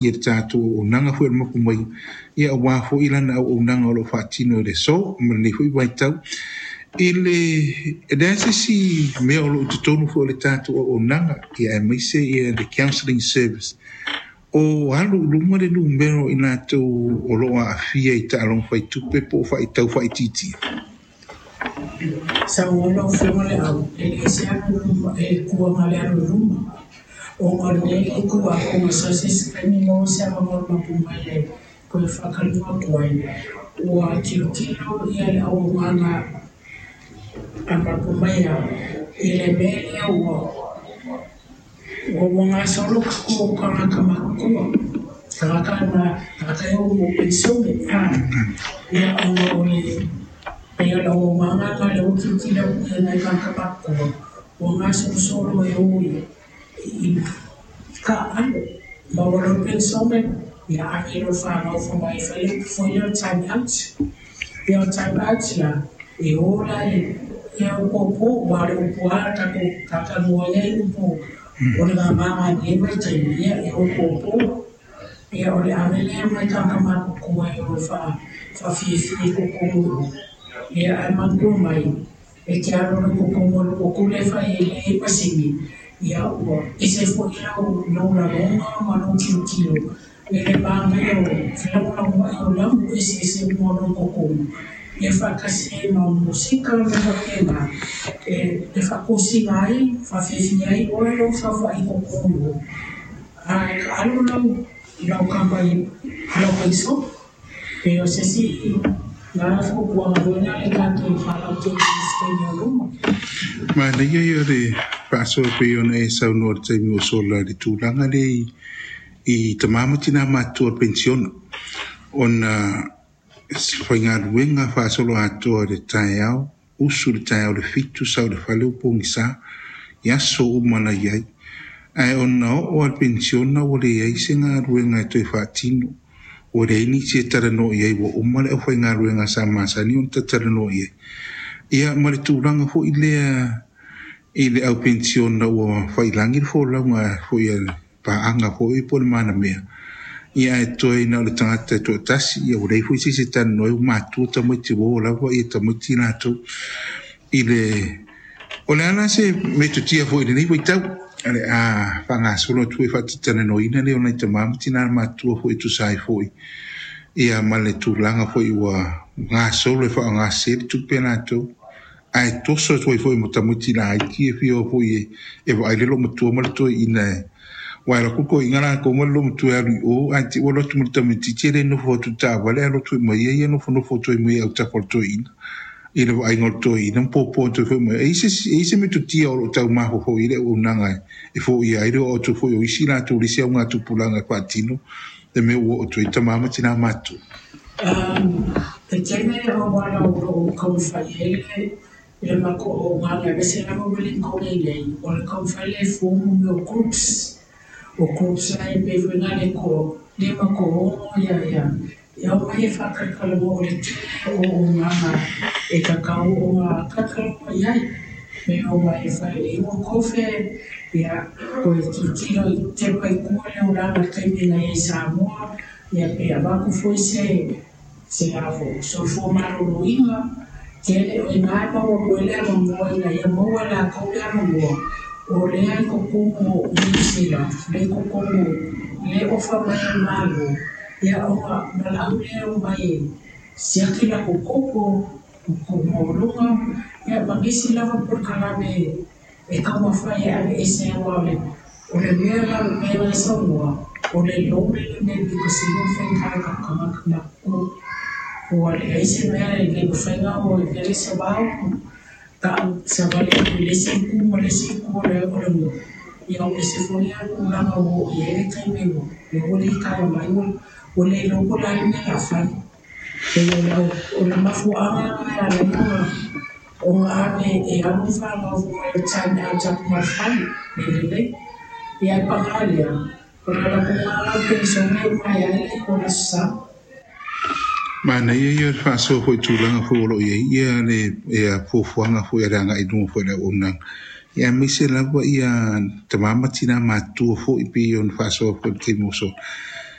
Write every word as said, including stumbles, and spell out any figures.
Ia le tatou auaunaga foi o le mapu mai ia aua foi lana auaunaga o lo o faatino i le aso ma lenei foi vaitau. I le e leai se isi mea o lo o i totonu foi o le tatou auaunaga ia aemaise ia le counselling service o alu i luma le numera o i latou o lo o aafia i taaloga faitupe po o faitau faaitiitia. Saunoa lau Afioga le au, e le ese alu i luma, e kuaga le alu i luma. Ona o le mea lea e tu atu sa se isi taimi maua se avanoa mapu mai e toe faatalanoa atu ai. Ua tilotilo ia le auaunaga a mapu mai i le mea lea ua ua ua gasolo tatou tagata matutua. Tagata na tagata e o mo penisione. Ia ona o le pei o le auaunaga na lea ua tilotilo atu i ai nai tagata matutua ua gasolosolo e o i i taaalo maua loa le penisione ia ave loa i fanau fai mai fai lea o le time out. Ia o le time out la e o la i ia o popo aua o le upu lava tatou talatalanoa ai ai upu o le mamaga i lenei vaitaimi ia e o popo. Ia o le ave lea mai tagata matutua e o e faafiafia i totonu i o. Ia ae manatua mai e te alu loa i totonu o le potu lea e fai ai le masini ia ua ese foi lau lou lagona ma lou tilotilo i le manaia o felagolagomai o lamu eseese uma o lo o i totonu ia faatasi ai ma musika ma mea faapena e e faatosina ai faafiafia ai oe lou saofai i totonu i o. Ae taaalo lau lau kapa i lau paiso pe o se isi na fuafuaga foi lea le tatou faalautele i se taimi o luma. Manaia ia o le faasoa e pei ona e saunoa i le taimi ua sola i le tulaga lea i i tama ma tina matutua o le penisiona ona faigaluega faasoloatoa i le taeao, usu i le taeao i le fitu, sau i le fale ua pogisa i aso uma na i ai. Ae ona oo lava i le penisiona ua leai se galuega e toe faatino, ua leai nisi e talanoa i ai, ua uma le aufaigaluega sa masani ona tatalanoa i ai. Ia ma le tulaga foi lea i le au penisiona ua failagi le folauga foi a le paaga foi po o le manamea, ia ae toe na o le tagata e toatasi, ia ua leai foi se isi e talanoa ai, ua matua tamaiti ua oo lava ia tamaiti latou i le o le a la se metotia foi i lenei vaitau o le a faagasolo atu foi faatatalanoaina lea o nai tama ma tina matutua foi e tusa ai foi ia ma le tulaga foi ua gasolo e faaaoga le tupe latou ae toso atu ai foi ma tamaiti laiti e fia o foi e, e vaai le loomatua ma le toeaina e aua e alu atu le toeaina latou ma le loomatua e alu i o ae te i ua alu atu ma le tamaitiiti e le nofo atu i le taavale ae alu atu mai ia ia nofonofo atu ai mai autafa o le toeaina i le vaaiga o le toeaina ma popo atu ai foi mai. E i ai se, e i ai se metotia o lo o taumafaufau i ai le auaunaga e foia ai le oo atu foi o isi latou i le isi augatupulaga e faatino le mea ua oo atu ai tama ma tina matutua. Um, e tele auala o lo o taumafai ai le le matou auaunaga aemaise lava Wellington nei o le taumafai lea e form mea o groups. O groups la e pei foi na le toa lima toaono ia ia e aumai e faatalatalanoa o le tele o auaunaga e tatau ona talatalanoa i ai. Me omai e fai e inu kofe ia toe tilotilo i tepa i tua le olaga i le taimi na i ai i Samoa ia pe avatu foi se se avo soifua maloloina tele o ina e maua atu ai le avanoa ina ia maua e latou le avanoa o lea i totonu o Niu Sila lea i totonu le ofa mai a le Malo ia ona valaau lea e omai e siaki latou toto toto maualuga ia ma nisi lava polokalame e taumafai e aveese aua o le o le mea la o le mea la e saunoa o le lonely le mea pito sili ona faigata i tatou tagata matutua ua leai se mea e le mafai ona o e vele se vao ta'u savali atu i le isi itu ma le isi itu o le o le nuu ia ua ese foi lea tulaga ua oo i ai le taimi ua lea ua litaea mai ua ua le iloa po o le a le mea o le a fai. Pei o le o le mafuaaga lena e ala ai ona ona ave e alu le fanau foi mai le time out atu ma le fale le lelei. Ia ae paga lea o le latou la penisione e uma ai le o le Aso Sa. Manaia ia o le faasoa foi i tulaga foi o lo o i ai ia le ia fuafuaga foi a le agai i luma foi o le auaunaga. Ia aemaise lava ia tama ma tina matutua foi pei ona faasoa foi i le taimi ua sola.